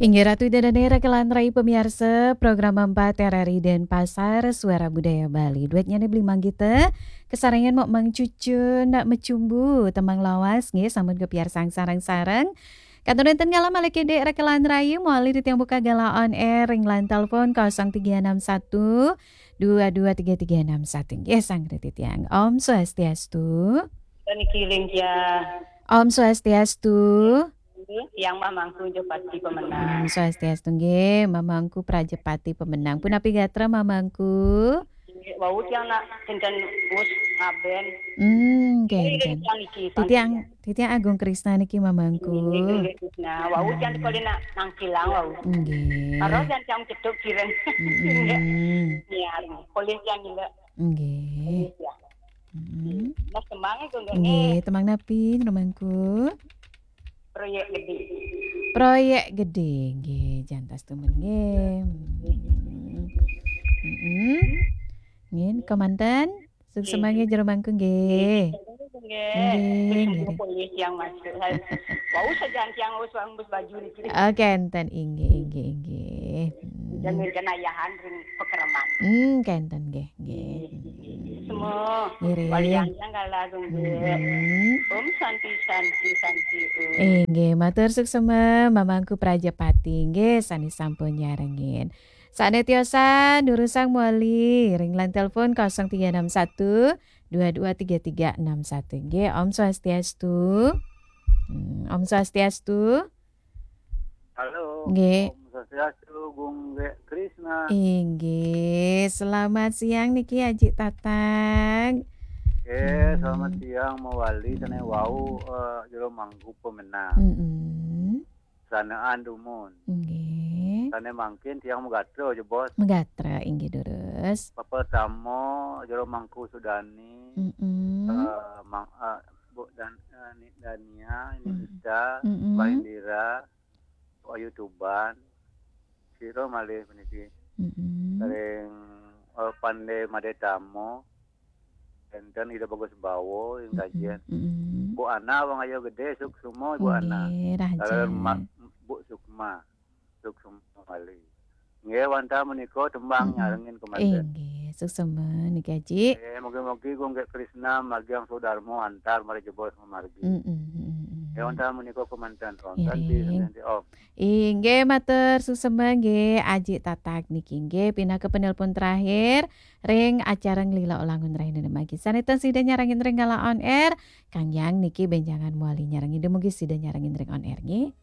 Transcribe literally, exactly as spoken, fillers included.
Inggih Ratu Ida Dané, rakan rai pamiarsa program empat R R I Denpasar, Suara Budaya Bali. Duet nyané beli manggita, kasarengan mok mangcucun, nak mecumbu, tembang lawas, nggih, sampun kapiarsang sareng-sareng. Kantun wénten ngalah malih kedék rakan rai, malih titiang buka galah on air ring line telepon kosong tiga enam satu, dua dua tiga tiga enam satu. Nggih, sang titiang. Om Swastiastu. Niki ring ya. Om Swastiastu. Yang mamangku Jepati pemenang. Hmm, Swastiastu nggih, mamangku Prajepati pemenang. Punapi gatra mamangku? Wau tiang nak kinten us ngaben. Hmm, nggih, nggih, nggih. Tiang niki, titiang, titiang Agung Krisna niki mamangku. Nggih, nggih, Krisna. Wau tiang kali nak nangkilang wau. Nggih. Karo tiang tiang cetuk kiren. Mm-mm. Nggih. Niar, boleh tiang nilai. Nggih. Iya. Mm-mm. Mas tembang itu nggih. Nggih, tembang napi, mamangku? Proyek gedé. Proyek gedé, nggih, jantas tumen nggih. Mm-mm. Nggih, kemanten. Suksma nggih jero mangku nggih. Nggih. Nggih, nggih. Polih yang masuk. Wau sajan tiang wis wanggus baju niki. Oh, kenten, inggih, inggih, inggih. Hmm. Dan ngenayahan ring pekreman. Hmm, kenten nggih, nggih. Semua. Ngiring. Walian yang kalah nggih. Hmm. Om Santi, Santi, Santi, Om. Inggih, matur suksma mamangku Prajapati nggih, sané sampun nyarengin. Sané tiosan durusang mawali ring line telepon kosong tiga enam satu, dua dua tiga tiga enam satu. Nggih, Om Swastiastu. Hmm, Om Swastiastu. Halo. Nggih. Om Swastiastu, Gung Gek Krisna. Inggih, selamat siang niki Aji Tatang. Nggih, selamat siang mawali, sané wau, eh, jero mangku pemenang. Mm-mm. Sanaan dumun. Nggih. Sané mangkin tiang magatra, jebos. Magatra, inggih durus. Pertama, jero mangku Sudani, mm-mm, eh, mang-, eh, Bu Dan-, eh, Ni Dania, Ni, mm, Ita, mm-mm, Mbak Indira, Bu Ayu Tuban, sira malih puniki. Mm-mm. Ring, eh, Pandé Madé Tamo, énten Ida Bagus Bawa, ing, mm-mm, kajian. Mm-mm. Bu Ana, Wang Ayo Gedé, suksma, Bu Ana. Nggih, rahajeng. Kalian Ma-, Bu Sukma, suksma malih. Nggih, wantah menika tembang, mm-mm, nyarengin kemanten. Inggih, suksma niki, Aji. Nggih, mugi-mugi Gung Gek Krisna margiang sudarma antar margi jebos mamargi. Mm-mm, mm-mm. Nggih, wantah menika kemanten. Om Santi, ngiring. Santi, Om. Inggih, matur suksma nggih, Aji Tatak niki nggih pinaka penelpon terakhir ring acara Nglila Ulangun Rahinane Magi. Sané ten sida nyarengin ring galah on air, Kang Yang niki bénjangan mawali nyarengin, dumugi sida nyarengin ring on air nggih.